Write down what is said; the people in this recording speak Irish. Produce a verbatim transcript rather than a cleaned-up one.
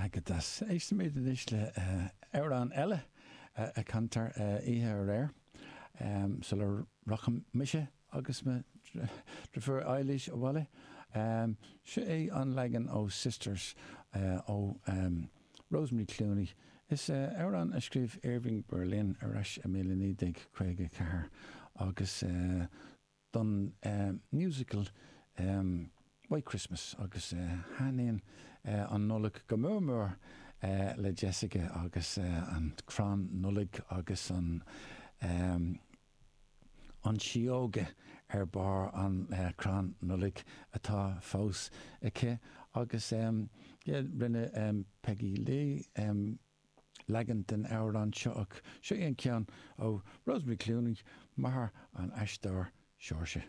Go deas. Éistfimid anois le amhrán eile a cantar oíche aréir sula rachaidh mise agus mo dheirfiúr Eilís abhaile. Seo é an leagan ó Sisters ó Rosemary Clooney. Is amhrán a scríobh Irving Berlin ar ais i míle naoi déag caoga ceathair agus don musical White Christmas agus thaitníonn an Nollaig go mór mór le Jessica agus an crann Nollag agus an an síóga ar barr an crann Nollag atá fós aici agus yeah rinne Peggy Lee leagan den amhrán seo ach seo é an ceann ó Rosemary Clooney, máthair an aisteoir Saoirse.